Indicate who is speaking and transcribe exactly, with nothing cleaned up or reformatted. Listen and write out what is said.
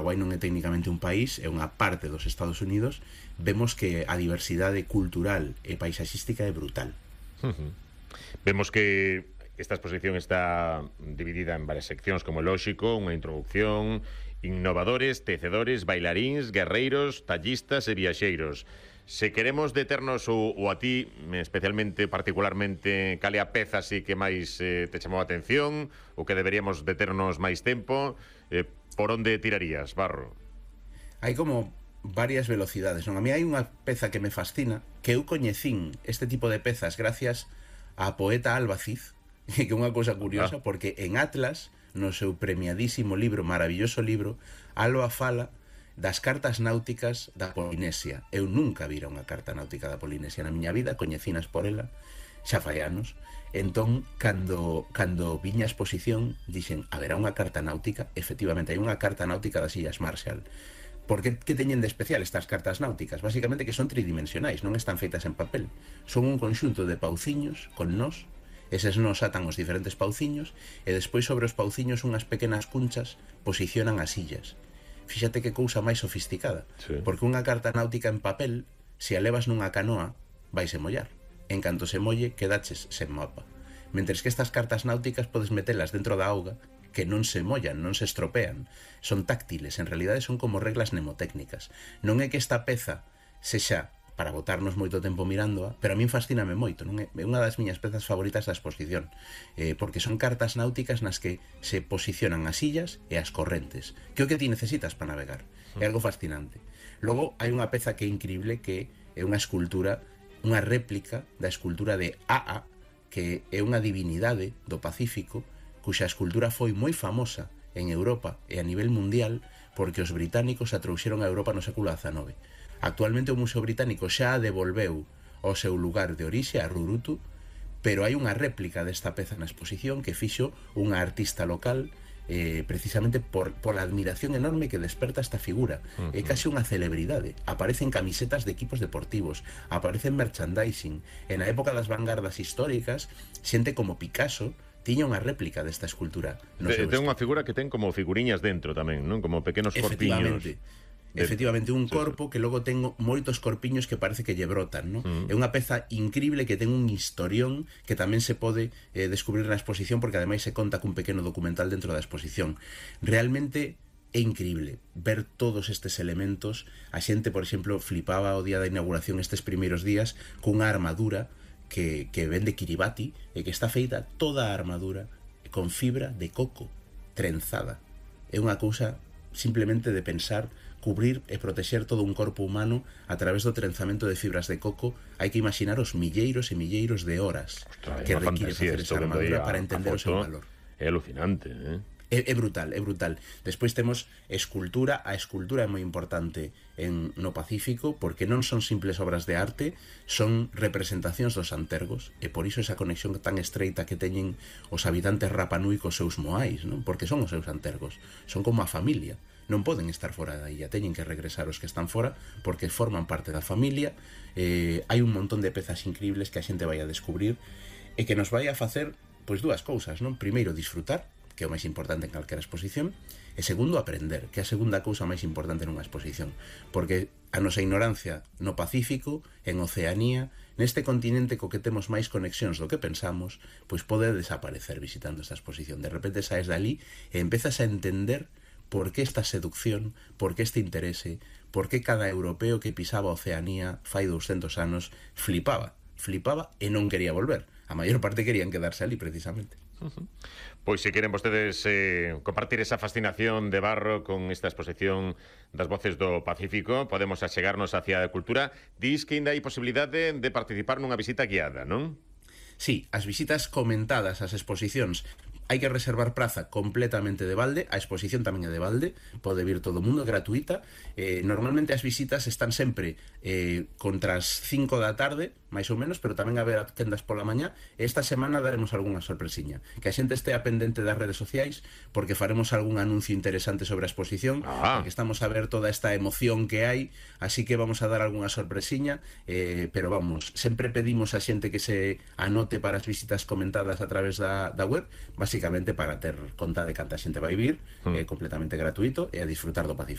Speaker 1: Paraguai non é técnicamente un país, é unha parte dos Estados Unidos, vemos que a diversidade cultural e paisaxística é brutal.
Speaker 2: Uh-huh. Vemos que esta exposición está dividida en varias seccións, como lóxico, unha introducción, innovadores, tecedores, bailaríns, guerreiros, tallistas e viaxeiros. Se queremos deternos ou, ou a ti, especialmente, particularmente, cal é a peza así que máis eh, te chamou a atención, ou que deberíamos deternos máis tempo, eh, por onde tirarías, Barro?
Speaker 1: Hai como varias velocidades, non? A mí hai unha peza que me fascina, que eu coñecín este tipo de pezas gracias a poeta Albaciz, que é unha cousa curiosa, ah. porque en Atlas, no seu premiadísimo libro, maravilloso libro, Alba fala das cartas náuticas da Polinesia. Eu nunca vira unha carta náutica da Polinesia na miña vida, coñecinas por ela, xa fai anos. Entón, cando, cando viña a exposición, dixen, haberá unha carta náutica? Efectivamente, hai unha carta náutica das Illas Marshall. Por que, que teñen de especial estas cartas náuticas? Básicamente que son tridimensionais, non están feitas en papel. Son un conxunto de pauciños con nós. Eses nos atan os diferentes pauciños e despois sobre os pauciños unhas pequenas cunchas posicionan as illas. Fíxate que cousa máis sofisticada, sí. Porque unha carta náutica en papel, se a levas nunha canoa, vaise mollar. En canto se molle, quedaches sen mapa. Mentres que estas cartas náuticas podes metelas dentro da auga, que non se mollan, non se estropean. Son táctiles, en realidade son como reglas mnemotécnicas. Non é que esta peza sexa para botarnos moito tempo mirándoa, pero a min fascíname moito, non é? É unha das miñas pezas favoritas da exposición, eh, porque son cartas náuticas nas que se posicionan as illas e as correntes, que é o que ti necesitas para navegar. É algo fascinante. Logo, hai unha peza que é increíble, que é unha escultura, unha réplica da escultura de Aa, que é unha divinidade do Pacífico, cuxa escultura foi moi famosa en Europa e a nivel mundial porque os británicos a trouxeron a Europa no século dezanove. Actualmente o Museo Británico xa a devolveu ao seu lugar de orixe, a Rurutu, pero hai unha réplica desta peza na exposición que fixo unha artista local eh, precisamente por, por a admiración enorme que desperta esta figura. Uh-huh. É case unha celebridade. Aparecen camisetas de equipos deportivos, aparecen merchandising. En a época das vanguardas históricas, xente como Picasso tiña unha réplica desta escultura.
Speaker 2: No de, ten unha figura que ten como figuriñas dentro tamén, non? Como pequenos corpiños.
Speaker 1: De... Efectivamente, un corpo que logo ten moitos corpiños que parece que lle brotan, non? Uh-huh. É unha peza increíble que ten un historión que tamén se pode eh, descubrir na exposición, porque ademais se conta cun pequeno documental dentro da exposición. Realmente é increíble ver todos estes elementos. A xente, por exemplo, flipaba o día da inauguración estes primeiros días cunha armadura que, que vende Kiribati e que está feita toda a armadura con fibra de coco trenzada. É unha cousa simplemente de pensar cubrir e protexer todo un corpo humano a través do trenzamento de fibras de coco. Hai que imaginar os milleiros e milleiros de horas Ostras, que require facer esa armadura para entender o seu valor.
Speaker 2: É alucinante, eh?
Speaker 1: É, é brutal, é brutal. Despois temos escultura. A escultura é moi importante en, no Pacífico, porque non son simples obras de arte, son representacións dos antergos, e por iso esa conexión tan estreita que teñen os habitantes Rapa Nui cos seus moais, non? Porque son os seus antergos, son como a familia. Non poden estar fora da illa, teñen que regresar os que están fora porque forman parte da familia. Eh, hai un montón de pezas increíbles que a xente vai a descubrir e que nos vai a facer pois dúas cousas, non? Primeiro, disfrutar, que é o máis importante en calquera exposición, e segundo, aprender, que é a segunda cousa máis importante nunha exposición, porque a nosa ignorancia no Pacífico, en Oceanía, neste continente co que temos máis conexións do que pensamos, pois pode desaparecer visitando esta exposición. De repente saes dali e empezas a entender por que esta seducción, por que este interese, por que cada europeo que pisaba a Oceanía fai douscentos anos flipaba, flipaba e non quería volver. A maior parte querían quedarse ali precisamente.
Speaker 2: Uh-huh. Pois se queren vostedes eh, compartir esa fascinación de Barro con esta exposición das voces do Pacífico, podemos achegarnos hacia a cultura. Dis que ainda hai posibilidade de participar nunha visita guiada, non?
Speaker 1: Sí, as visitas comentadas ás exposicións hai que reservar praza completamente de balde. A exposición tamén é de balde, pode vir todo o mundo, gratuita. Eh, normalmente as visitas están sempre eh, contra as cinco da tarde, máis ou menos, pero tamén haberá tendas pola mañá. E esta semana daremos algunha sorpresiña. Que a xente estea pendente das redes sociais, porque faremos algún anuncio interesante sobre a exposición, ah. porque estamos a ver toda esta emoción que hai, así que vamos a dar algunha sorpresiña, eh, pero vamos, sempre pedimos a xente que se anote para as visitas comentadas a través da, da web, básicamente basicamente para ter conta de canta xente vai vir, mm. é completamente gratuito e a disfrutar do Pacífico.